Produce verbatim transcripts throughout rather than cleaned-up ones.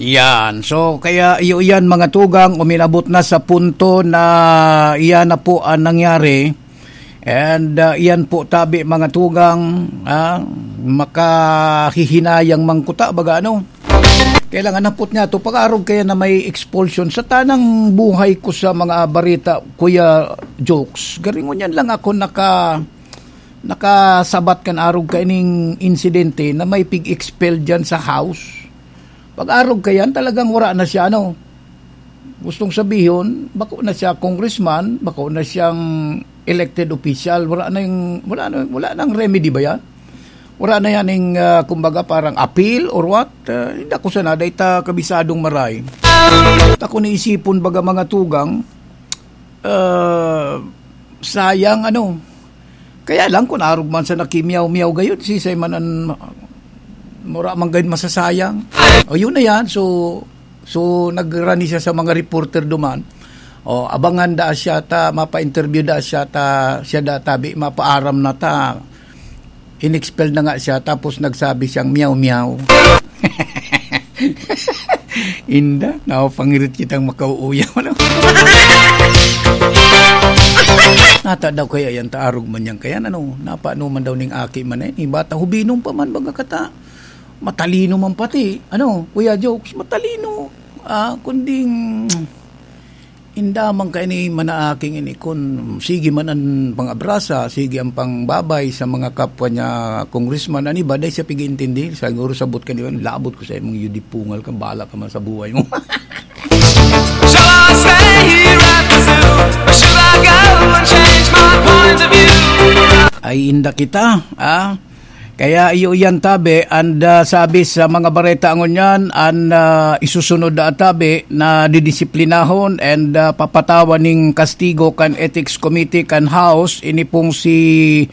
Yan. So, kaya iyo yan, mga tugang, uminabot na sa punto na iyan na po ang nangyari. And, ah, iyan po, tabi, mga tugang, ah, makahihinayang mangkuta, baga ano. Kailangan napot niya to, pag-arog kaya na may expulsion. Sa tanang buhay ko sa mga barita, Kuya Jokes, garingon yan lang ako naka, nakasabat kan arog kaining insidente na may pig-expel dyan sa house. Pag-arog ka yan, talagang wala na siya, ano. Gustong sabihon, bako na siya congressman, bako na siyang elected official, wala na yung, wala na, wala nang remedy ba yan? Wala na yan yung, ah, kumbaga, parang appeal or what? Ah, hindi ako sana, dahil ta kabisadong maray. Ako naisipon, baga, mga tugang, ah, sayang, ano. Kaya lang, kung arog man sa nakimiyaw-miyaw gayon, sisay man an, mura man gayon masasayang. O, yun na yan. So, so, nagrani siya sa mga reporter duman. O, abangan da siya ta, mapa-interview da siya ta, siya da tabi, mapaaram na ta. In-expel na nga siya, tapos nagsabi siyang, "Meow, meow." Inda, napapangirit kitang makauuyaw, ano? Nata daw kaya yan, taarog man yan kaya, ano? Napaano man daw ning aki man eh, ni bata, hubinom pa man, baga kata. Matalino man pati, ano, Kuya Jokes, matalino. Ah, kunding, inda man kaini manaaking ini, kun sige man an pangabrasa, sige an pangbabay sa mga kapwa niya congressman, an iba, dai siya pig-iintindi. Siguro sabot ka niya, "Labot ko sa imong yudipungal ka, bahala ka man sa buhay mo." Shall I stay here at the zoo? Or should I go and change my point of view? Ay, inda kita, ah. Kaya iyo yan, tabi, and, ah, sabi sa mga bareta ngunyan, an, ah, isusunod na tabi na didisiplinahon and, ah, papatawan ning kastigo kan Ethics Committee kan House, ini pong si,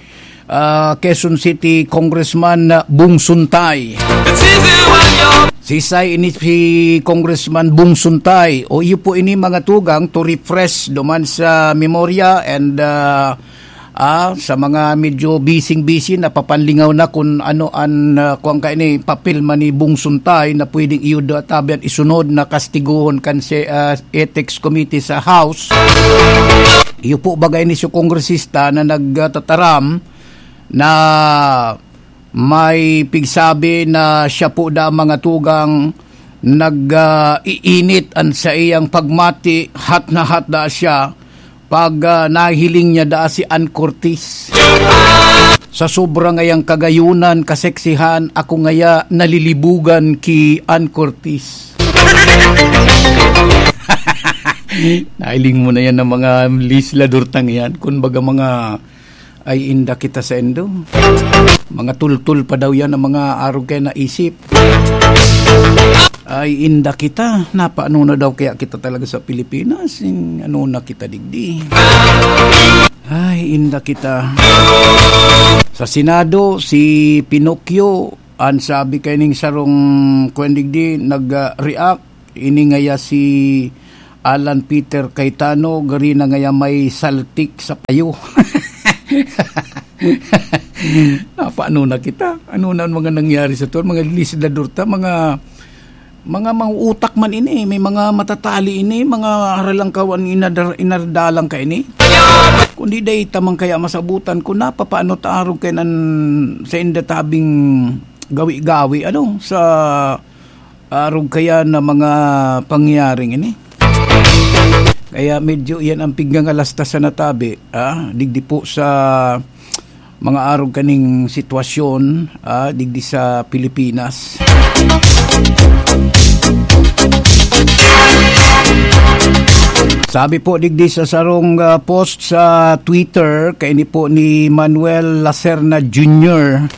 ah, Quezon City Congressman, ah, Bong Suntay. It's easy when you're Sisay ini si Congressman Bong Suntay. O iyo po ini, mga tugang, to refresh duman sa memorya and, ah, ah, sa mga medyo busy-busy, napapanlingaw na kun ano an, ah, kuwan kaini, papel man ni Bong Suntay na pwedeng iyo da tabi an isunod na kastiguhon kan se-, ah, Ethics Committee sa House. Iyo po baga ini si kongresista na nagtataram na may pigsabi na siya po da, mga tugang, nag, ah, iinit an saiyang pagmati, hot na hot da siya pag, ah, nahiling niya daa si Ann Curtis. Sa sobra ngayang kagayunan, kaseksihan, ako ngaya nalilibugan ki Ann Curtis. Nahiling mo na yan ng mga legislador tang yan. Kung baga mga, ay inda kita sa indo. Mga tultul pa daw yan ang mga arog kaya naisip. Ay, inda kita. Napaano na daw kaya kita talaga sa Pilipinas? In, ano na kita digdi? Ay, inda kita. Sa Senado, si Pinocchio, an sabi kay ning sarong kwan digdi, nag-react. Ini ngaya si Alan Peter Cayetano, gari na ngaya may saltik sa payo. Napaano na kita? Ano na ang mga nangyari sa to? Mga legislador ta, mga, mga mauutak man ini, may mga matatali ini, mga haralangkaw an inadar-, inardalang ka ini. Kundi dai ta man kaya masabutan kung napapaano ta arog kay nan sa inda tabing gawi-gawi, ano, sa arog kaya na mga pangyayaring ini. Kaya medyo iyan ang pigngangalastas sa natabi, ah, digdi po sa mga arog kaning sitwasyon, ah, digdi sa Pilipinas. Sabi po digdi sa sarong, ah, post sa Twitter, kaini po ni Manuel Lacerna Junior.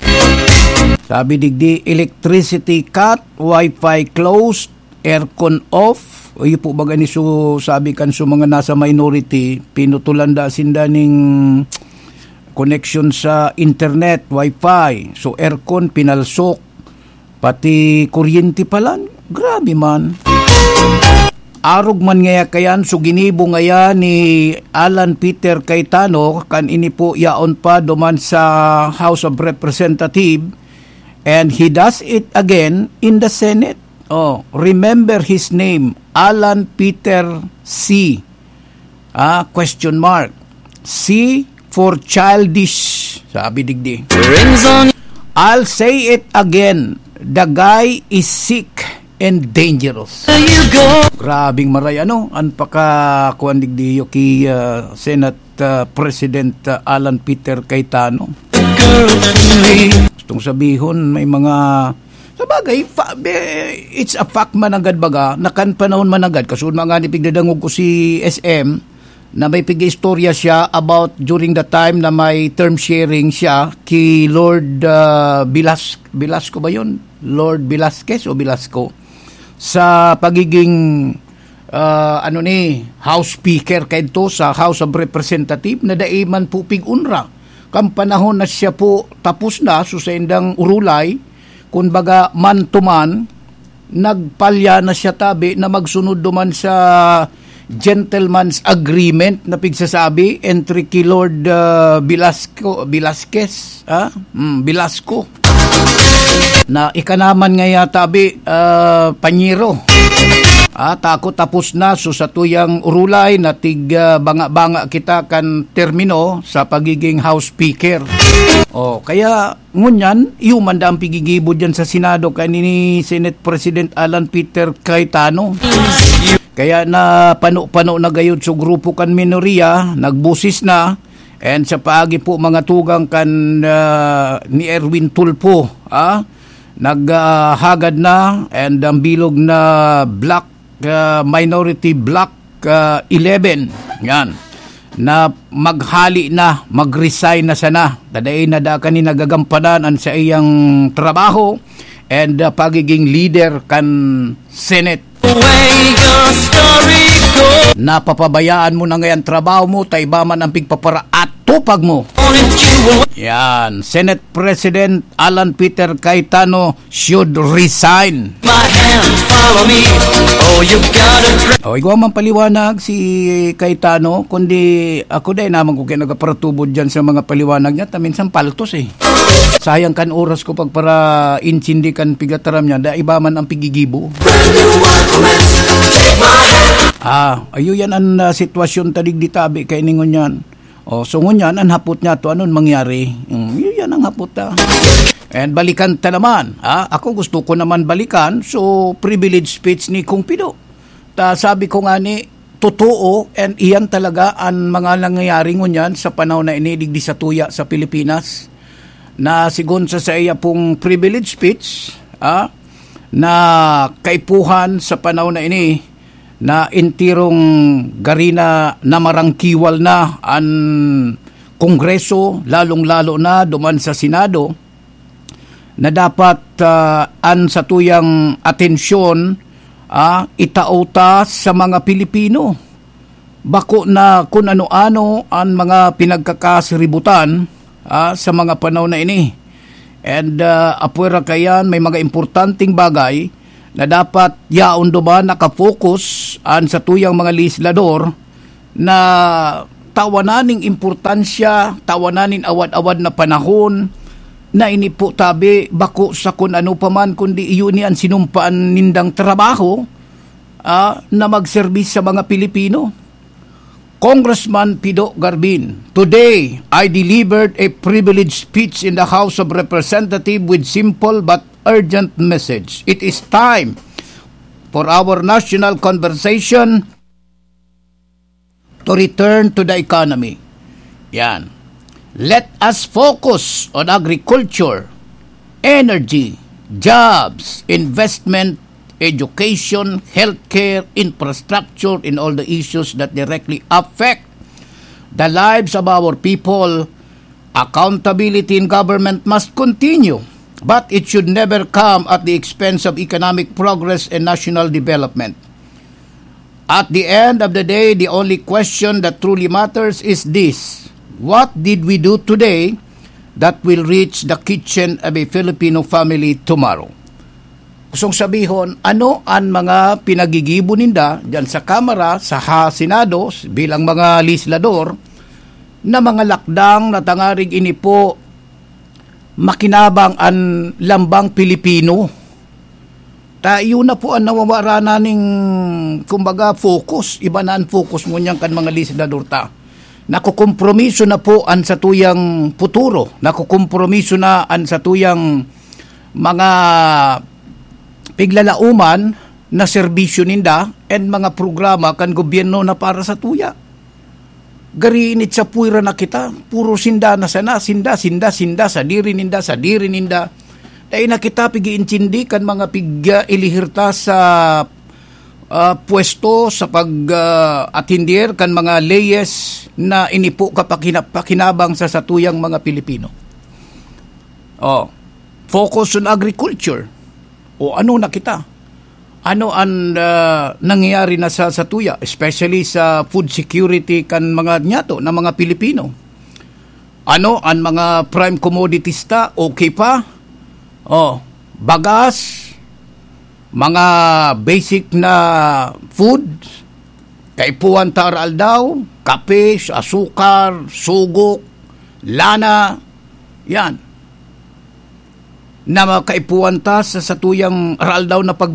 Sabi digdi, electricity cut, wifi closed, aircon off. O, iyo po baga ni su-, sabi kan su mga nasa minority, pinutulan da sinda ning connection sa internet, wifi. So, aircon, pinalsok. Pati kuryente palan. Grabe man. Arog man ngaya kayan, so ginibo ngaya ni Alan Peter Cayetano, kan ini po yaon pa duman sa House of Representative, and he does it again in the Senate. Oh, remember his name, Alan Peter C. Ah, question mark. C for childish, sabi digdi. Rings on I'll say it again. The guy is sick and dangerous. You go. Grabing maray, ano? An paka, kuwan digdi, ki, ah, Senate, ah, President, ah, Alan Peter Cayetano. Girl for me. Gustong sabihon, may mga, sa bagay, fa-, be-, it's a fact managad baga, na kan panahon managad, kasunod mga ni pigdadangog ko si S M, na may pig-istorya siya about during the time na may term sharing siya ki Lord, ah, Velas-, Velasco ba yun? Lord Velasquez o Velasco? Sa pagiging, ah, ano ni, House Speaker kaidto sa House of Representative na dai man po pig-unra. Kan panahon na siya po tapos na, so sa indang urulay, kun baga man to man, nagpalya na siya tabi na magsunod duman sa gentleman's agreement na pigsasabi entre ki Lord, ah, Velasco, Velasquez, ah? Hmm, Velasco. Na ika naman nga yata, bi, ah, panyero. Ah, tako tapos na, so sa tuyang urulay na tig, ah, banga-banga kita kan termino sa pagiging House Speaker. Oh, kaya ngunyan, iyo man da ang pigigibo diyan sa Senado kay ni Senate President Alan Peter Cayetano. Kaya na pano-pano na gayod sa grupo kan minorya, nagbusis na, and sa paagi po mga tugang kan, ah, ni Erwin Tulfo, ah, naghagad na, and ang bilog na bloc, ah, minority bloc, ah, eleven, yan, na maghali na, mag-resign na sana. Tadain na da kani nagagampanan an saiyang trabaho and, ah, pagiging leader kan Senate. Way your story go. Napapabayaan mo na ngayon trabaho mo, ta iba man ang pigpaparaatupag mo. Wanted you want Yan, Senate President Alan Peter Cayetano should resign. My hand, follow me. Oh, you gotta cry. O, igwa man paliwanag si Cayetano, kundi ako dai naman ko kaya nagaparatubod dyan sa mga paliwanag niya, ta minsan paltos eh. Sayang kan oras ko pagpara-intindi kan pigataram niya, da iba man ang pigigibo. Brand new arguments. Take my hand. Ah, ayo yan ang, ah, sitwasyon ta digdi tabi kay ningon yan. O, so ngunyan, ang hapot niya to, anon mangyari? Hmm, yun yan ang hapot ta. And balikan ta naman, ha? Ako gusto ko naman balikan, so privilege speech ni Kong Pido. Ta sabi ko nga ni, totoo, and iyan talaga ang mga nangyayari ngunyan sa panahon na ini, digdi sa tuya sa Pilipinas, na sigon sa saiya pong privilege speech, ah, na kaipuhan sa panahon na ini, na entirong gari na namarangkiwal na an Kongreso, lalong-lalo na duman sa Senado, na dapat, ah, an satuyang atensyon, ah, itao ta sa mga Pilipino. Bako na kun ano-ano an mga pinagkakasiributan, ah, sa mga panahon na ini. And, ah, apwera kaiyan, may mga importanteng bagay na dapat yaon duman nakafocus an satuyang mga legislador na tawanan ning importansya, tawanan nin awad-awad na panahon na ini po tabi bako sa kun ano pa man, kundi iyo ni an sinumpaan nindang trabaho, ah, na magserbis sa mga Pilipino. Congressman Pido Garbin, today I delivered a privilege speech in the House of Representatives with simple but urgent message. It is time for our national conversation to return to the economy. Yan. Let us focus on agriculture, energy, jobs, investment, education, healthcare, infrastructure, and all the issues that directly affect the lives of our people. Accountability in government must continue, but it should never come at the expense of economic progress and national development. At the end of the day, the only question that truly matters is this: what did we do today that will reach the kitchen of a Filipino family tomorrow? Gustong sabihon, ano an mga pinagigibo ninda diyan sa Kamara, sa ha-, Senado, bilang mga legislador, na mga lakdang na tangarig ini po makinabang an lambang Pilipino? Ta iyo na po an nawawara na ning, kumbaga, focus. Iba na an focus ngunyan kan mga legislador ta. Nakokompromiso na po an satuyang futuro. Nakokompromiso na an satuyang mga piglalauman na serbisyo ninda and mga programa kan gobyerno na para sa tuya. Gari init sa puwera na kita, puro sinda na sana, sinda, sinda, sinda, sadiri ninda, sadiri ninda. Dai na kita pig-iintindi kan mga pig-, ah, ilihirta sa, ah, pwesto sa pag, ah, atender kan mga leyes na inipo ka pakina-, pakinabang sa satuyang mga Pilipino. Oh, focus on agriculture. O ano na kita? Ano an, ah, nangyayari na sa, sa tuya, especially sa food security kan mga nyato na mga Pilipino? Ano an mga prime commodities ta? Okay pa? Oh, bagas, mga basic na food, kaipuhan ta aroaldaw, kape, asukar, sugok, lana, yan. Na mga kaipuhan ta sa satuyang aroaldaw na pag